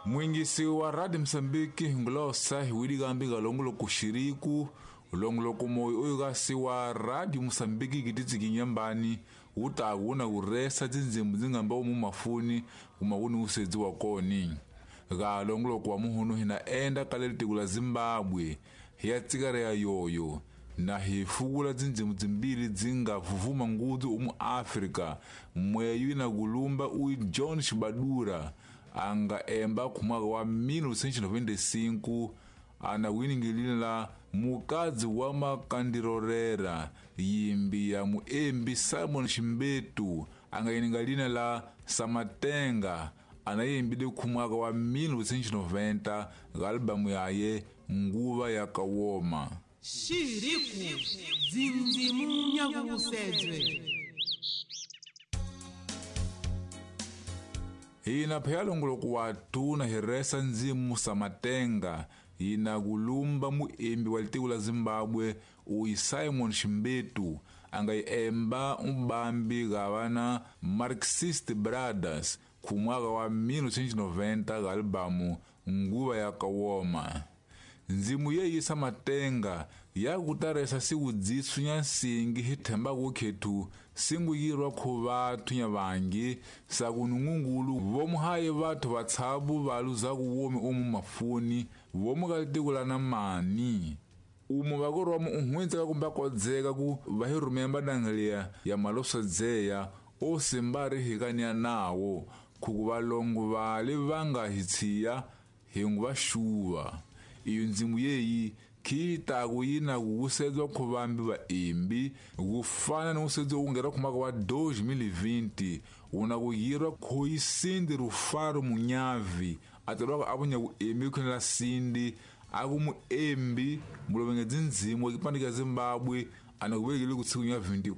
Mwingisi wa Radio Msambiki ngulosa hiwilikambi kalongoloko xiriku longoloko moyo oyo kasi wa Radio Msambiki kititsikinyambani wutaku wuna kuresa tindzimbu dzingamba umu mafuni kuma wuni usedzi wa koni ka longoloko wa muhunu hina enda kale litiko la Zimbabwe hiya tsikare ya yoyo na hi fukula tindzimu timbili dzinga vuvuma ngudzu umu Afrika mweyu ina kulumba uyu John Shibadura anga emba kumwaka wa 1995 ana winingilile la mukadzi wa makandirorera yimbi ya muembi Simon Shimbetu anga ininga lina la Samatenga anayimbile kumwaka wa 1990 albamu yaye Nguva ya Kawoma. Xiriku dzindzimu nyakusedzwe. Hina pheyalongoloko wa tuna hiresa ndzimu Samatenga yina kulumba muembi wa litiko la Zimbabwe uyi Simon Shimbetu anga emba ubambi gavana Marxist Brothers kumwaka wa 1990 albamu Nguva ya Kawoma. Ndzimu yeyi Samatenga yakutaresa siwudzisu nya nsingi hi thembaku khethu singuyirwa khu vathu nya vangi sakunungungulu vomuhaye vathu vatshabu valuzaku womi umu mafuni vomu ka litiko la namani umu vakorwamu uhwintseka kumbe akodzeka ku va hi ya malosadzeya osimbari hikania nawo khuku valongo vale vanga hi tshiya hingu va xuva. Iyo ndzimu yeyi khiitaku yina kuwusedzwa khuvambi vaembi kufana ni usedzo ungera khumaka wa 2020 wuna kuyirwa khoyisindi rufaro munyavi atalwaka avunya kuembi khonela sindi aku muembi mulovenge dzindzimu wa kipande ka Zimbabwe ana kuvekele kutsikunya 24